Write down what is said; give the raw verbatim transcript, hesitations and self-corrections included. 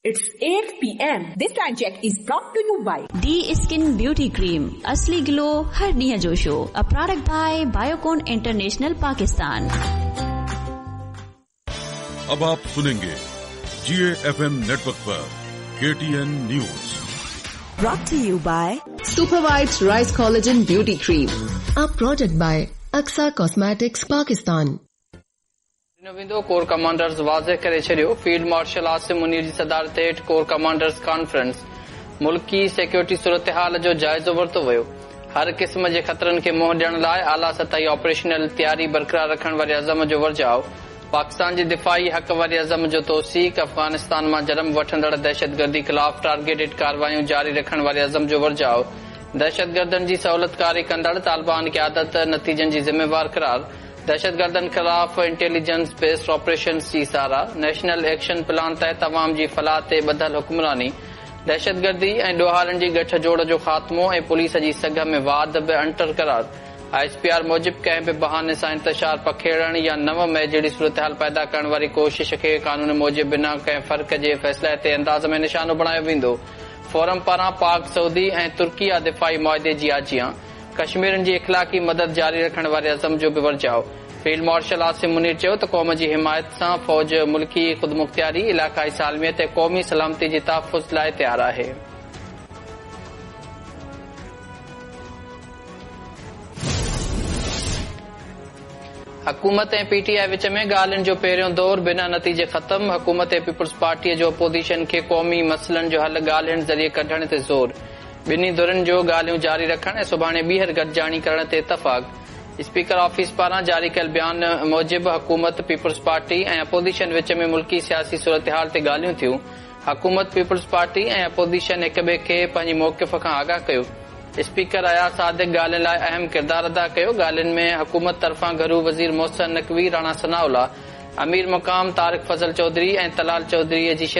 It's eight P M. This time check is brought to you by D Skin Beauty Cream, असली glow हर ॾींहं जो show, a product by Biocon International Pakistan. अब आप सुनेंगे जी F M network पर K T N news. Brought to you by Super White Rice Collagen Beauty Cream, a product by Aksa Cosmetics Pakistan. ॾिनो वेंदो। Corps commanders वाज़ेह करे छॾियो। Field marshal Asim Munir जी सदारत हेठि corps commanders conference, मुल्की सिक्योरिटी सूरत हाल जो जाइज़ो वरितो वियो। हर क़िस्म जे ख़तरनि खे मुंहुं ॾियण लाइ आला सतही ऑपरेशनल तयारी बरक़रार रखण वारे अज़म जो वरजाव। पाकिस्तान जी दिफ़ाई हक़ वारे अज़म जो तौसीक। अफ़ग़ानिस्तान मां जन्म वठंदड़ दहशतगर्दी ख़िलाफ़ टारगेटेड कार्रवाइयूं जारी रखण वारे अज़म जो वरजाव। दहशतगर्दनि जी सहूलतकारी कंदड़ तालिबान क़यादत नतीजनि जी ज़िम्मेवार करार। दहशतगर्दनि ख़िलाफ़ इंटेलिजेंस बेस्ड ऑपरेशन जी साराह। नेशनल एक्शन प्लान तहत अवाम जी फलाह ते ॿधल हुक्मरानी। दहशतगर्दी ऐं ॾोहारनि जी गठ जोड़ जो ख़ात्मो ऐं पुलिस जी सघ में वाध बि अणटर करार। I S P R मूजिबि कंहिं बि बहाने सां इंतशार पखेड़ण या नव मई जहिड़ी सूरत हाल पैदा करण वारी कोशिश खे कानून मूजिबि बिना कंहिं फ़र्क़ जे फ़ैसिले ते अंदाज़ में निशानो बणायो वेंदो। फोरम पारां पाक सऊदी ऐं तुर्किया दिफ़ाई मुआहिदे जी आजियां। कश्मीरनि जी इख़लाक़ी मदद जारी रखण वारे अज़म जो बि वरजाव। फील्ड मार्शल आसिम मुनीर चयो त क़ौम जी हिमायत सां फ़ौज मुल्की ख़ुदमुख़्तियारी, इलाक़ाई सालमियत ऐं क़ौमी सलामती जे तहफ़ुज़ लाइ तयार आहे। हुकूमत ऐं पी टी I विच में ॻाल्हियुनि जो पहिरियों दौर बिना नतीजे ख़त्म। हुकूमत ऐं पीपल्स पार्टीअ जो अपोज़िशन खे क़ौमी मसइलनि जो हल ॻाल्हियुनि ज़रिए कढण ते ज़ोर। ॿिन्ही धुरनि जो ॻाल्हियूं जारी रखण ऐं सुभाणे ॿीहर गॾिजाणी करण ते इतफ़ाक़। स्पीकर ऑफिस पारां जारी कयल बयान मूजिबि हुकूमत, पीपल्स पार्टी ऐं अपोज़िशन विच में मुल्की सियासी सूरत हाल ते ॻाल्हियूं थियूं। हुकूमत, पीपल्स पार्टी ऐं अपोज़िशन हिक ॿिए खे पंहिंजे मौक़िफ़ खां आगाह कयो। स्पीकर अयाज़ सादिक ॻाल्हियुनि लाइ अहम किरदार अदा कयो। ॻाल्हियुनि में हुकूमत तरफ़ां घरू वज़ीर मोहसिन नकवी, राणा सनाउल्ला, अमीर मुक़ाम तारिक फज़ल चौधरी ऐं तलाल चौधरीअ जी